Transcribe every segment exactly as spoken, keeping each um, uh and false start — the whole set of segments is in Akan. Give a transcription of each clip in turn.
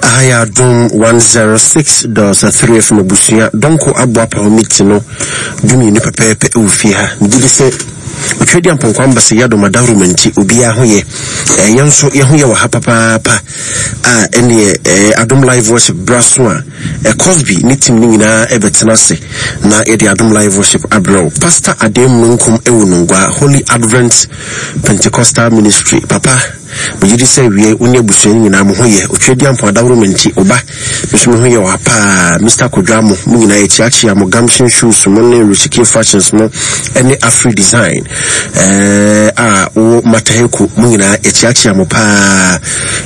Aha yɛ Adom one zero six dot three F M abusua dɔnko aboa pa hɔ meeting no dumienu pɛpɛɛpɛ wɔ fie ha. Megye di sɛ otwa di ampɔnkɔ amba sɛ yɛadom adaworo nti obiara ho yɛ. Eh, yɛn nso yɛn ho yɛ wɔ ha papaapa a ɛneɛ, eh, Adom Live Worship bra so a, eh, Cosby ne team no nyinaa ɛbɛtena ase na yɛde Adom Live Worship abrɛ wo. Pastor Adem Nunkum ɛwɔ Nungua, Holy Advent Pentecostal Ministry. Papa, megye di sɛ wie wo ne abusua no nyinaa mo ho yɛ. Otwa di ampɔn adaworo nti oba me nso me ho yɛ wɔ ha paa. Mister Kodwa mo, mo nyinaa yɛkyeakyea mo, Gamshin Shoes mo ne Richie Fashions mo ɛne Afri Design, eh, a wɔ Mataheko mo nyinaa yɛkyeakyea mo paa.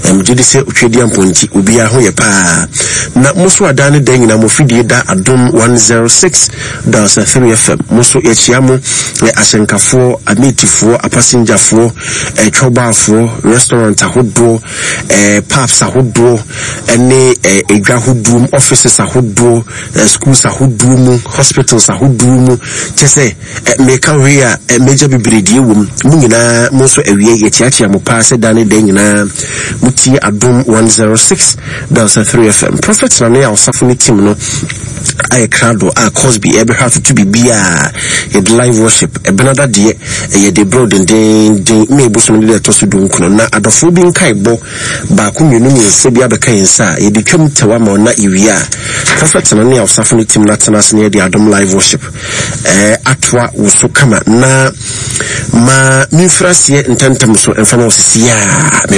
Eh, megye di sɛ otwa di ampɔn nti obiara ho yɛ paa. Na mo so adan ne dan nyinaa mo fidie da Adom one zero six dot three F M. Mo so yɛkyea mo, eh, ahyɛnkafoɔ, ametifoɔ, apasengyafoɔ, eh, twɔbaafoɔ, restaurant ahodoɔ, eh, pubs ahodoɔ, ɛne, eh, edwa ahodoɔ mu, offices ahodoɔ, eh, schools ahodoɔ mu, hospitals ahodoɔ mu. Kyɛ sɛ, eh, meka hwee a, eh, major bebree die wɔ mu. Mo nyinaa, mo nso awie, yɛkyeakyea mo paa sɛ dan ne dan nyinaa. Mo tie Adom one zero six dot three F M. Prophet Nane a ɔsafo ne team no ayɛ krado a Cosby ɛbɛhwɛ atoto biribiara. Yɛde live worship ɛbɛnada deɛ ɛyɛ de brɛ dendenden ma ebosom no de ɛtɔ so dunkron. Na adɔfoɔ bi nkae bɔ baako mmienu mmiɛnsa bi abɛka yɛn nsa a yɛde twam tɛwa ma ɔna ewia a Prophet Nane a ɔsafo ne team no atena ase na yɛde Adom live worship ɛɛ atoa wo so kama. Na ma memfiri aseɛ ntɛmntɛm so ɛmfa ma wo sisi a me